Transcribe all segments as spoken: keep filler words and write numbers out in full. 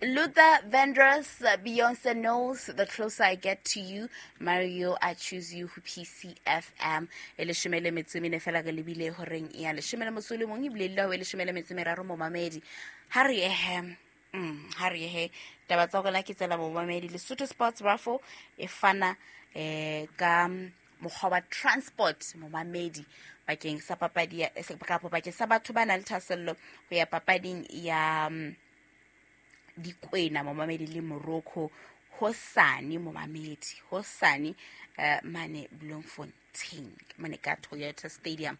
Luther Vandross, Beyonce Knowles, The Closer I Get to You, Mario, I Choose You, ho P C F M. E leshome le metso e mene fela re lebile horeng ya leshome le motso o le mong, ebile le ho e leshome le metso e meraro momamedi. Ha re ehe, mm, ha re ehe, taba tsa rona ke tsela momamedi. Lesotho Sports Raffle e fana eh, ka mokgwa wa transport momamedi bakeng sa papadi ya, kapa bakeng sa batho ba nang le thahasello ho ya papading ya Dikwena momamedi le Morocco hosane momamedi, hosane eh, mane Bloemfontein mane ka Toyota Stadium.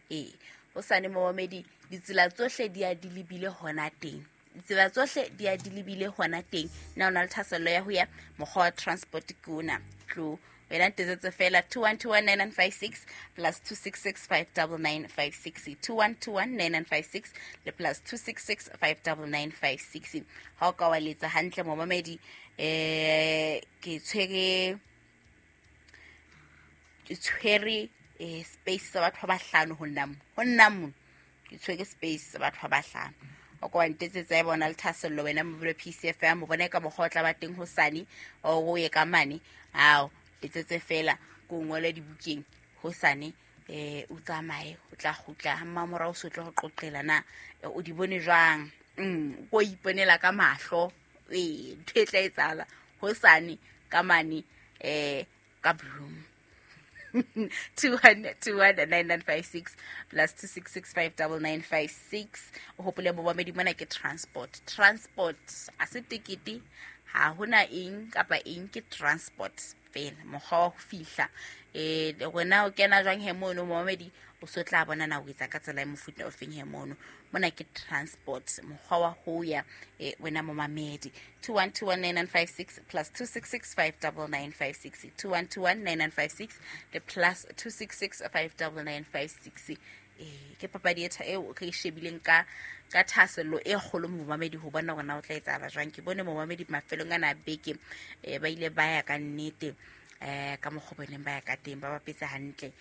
Eh, hosane momamedi, ditsela tsohle di a di lebile hona teng, ditsela tsohle di a di lebile hona teng. Na o na le thahasello ya ho ya mokgwa wa transport ke ona, tlo wena ntetsetse fela two one two one nine nine five six plus two six six five double nine five six, two one two one nine nine five six le plus two six six five double nine five six. Ha o ka wa letsa hantle momamedi, eh, ke tshwere, ke tshwere, eh, space sa batho ba bahlano ho nna mo, ho nna mo ke tshwere space sa batho ba bahlano. O ka wa ntetsetsa e bona le thahasello wena mobile P C F M, o bona ka mokgwa o tla ba teng hosane, o ye ka mane, ao letsetse fela ko ngole dibukeng hosane, eh, o tsamaye, o tla kgutla ha mmamora o so tlo go qoqela na, eh, o di bone jwang? Mm, o iponela ka mahlo, eh, ntho e tla etsahala hosane ka mane, eh, ka Bloem. two one two one nine nine five six plus two six six five double nine five six. O hopole momamedi mona ke transport. Transport a se tekete, ha hona eng kapa eng, ke transport fela, mokgwa wa ho fihla. Eh, wena o kena jwang he mono momamedi, o so tla bona na o etsa ka tsela e mofuta o feng he mono. Mona ke transport, mokgwa wa ho ya, eh, wena momamedi. two one two one nine nine five six plus two six six five double nine five six, two one two one nine nine five six le plus two six six five double nine five six. Eh, ke papadi e tha-, eo re e shebileng ka, ka thahasello e kgolo momamedi, ho bona hore na o tla etsahala jwang. Ke bone momamedi mafelong ana a beke, eh, ba ile ba ya ka nnete, eh, ka mokgwa bo neng ba ya ka teng, ba bapetse hantle.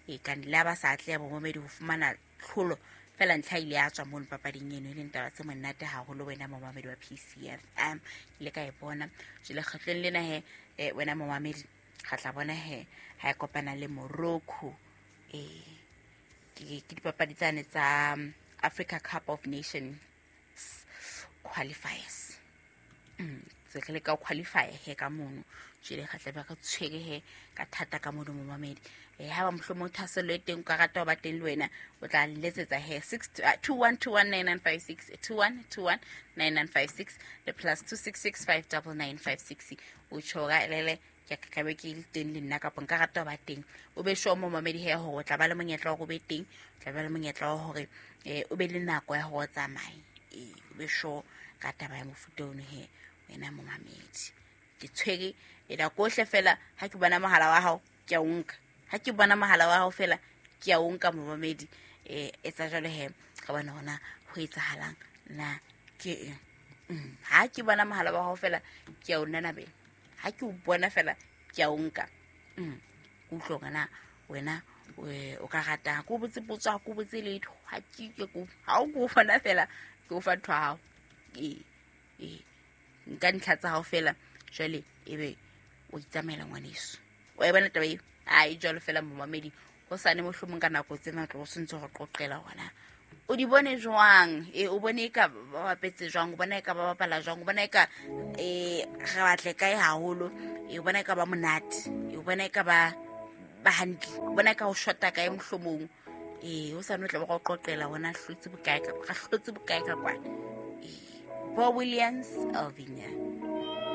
Eh, ka le ha ba sa atleha momamedi ho fumana tlholo, fela ntlha ile ya tswa mono papading eno, e leng taba tse monate haholo wena momamedi wa P C F M. Ke ile ka e bona. Jwale kgetlong lena he, eh, wena momamedi, re tla bona he ha e kopana le Morocco. Eh, ke, ke dipapadi tsane tsa Africa Cup of Nations qualifiers. Mm, tse re leka ho qualify he ka mono. Jwale re tla be re tshwere he ka thata ka mono momamedi. Eh, ha ba mohlomong thahasello e teng, o ka rata ho ba teng le wena, o tla letsetsa he six two, uh, two one two one nine nine five six, two one two one nine nine five six le plus two six six five double nine five six. O tjho ka lele, ke a ka be ke le teng le nna, kapa nka rata ho ba teng. O be sure momamedi he hore o tla ba le monyetla wa hore o be teng, o tla ba le monyetla wa hore, eh, o be le nako ya hore o tsamaye. Eh, o be sure ka taba ya mofuta ono he wena momamedi. Ke tshwere e nako ohle fela ha ke bona mohala wa hao, ke a o nka. Ha ke bona mohala wa hao fela, ke a o nka momamedi. Eh, etsa jwalo he, ka bona hona ho etsahalang na ke eng. Mm, ha ke bona mohala wa hao fela, ke a o nanabela. Ha ke o bona fela, ke a o nka. Mm, ke utlwe hore na wena, eh, o ka rata. Ha ke o botse potso, ha ke o botse letho. Ha ke ke ko, ha o ke o bona fela, ke o fa ntho ya hao. Eh, eh, nka ntlha tsa hao fela, jwale ebe o itsamaela ngwaneso. Wa e bona taba eo? Ai, jwalo fela momamedi, hosane mohlomong ka nako tsena tlo se ntse go qoqela hona. O di bone jwang? Eh, o bone eka ba bapetse jwang? O bona eka ba bapala jwang? O bona eka, eh, re batle kae haholo? Eh, o bona eka ba monate? Eh, o bona eka ba, ba hantle? O bona eka ho shota kae mohlomong? Eh, hosane o tla ba go qoqela hona hlotse bokae ka, ra hlotse bokae ka kwana. Eh, Bo Williams, Alvinia.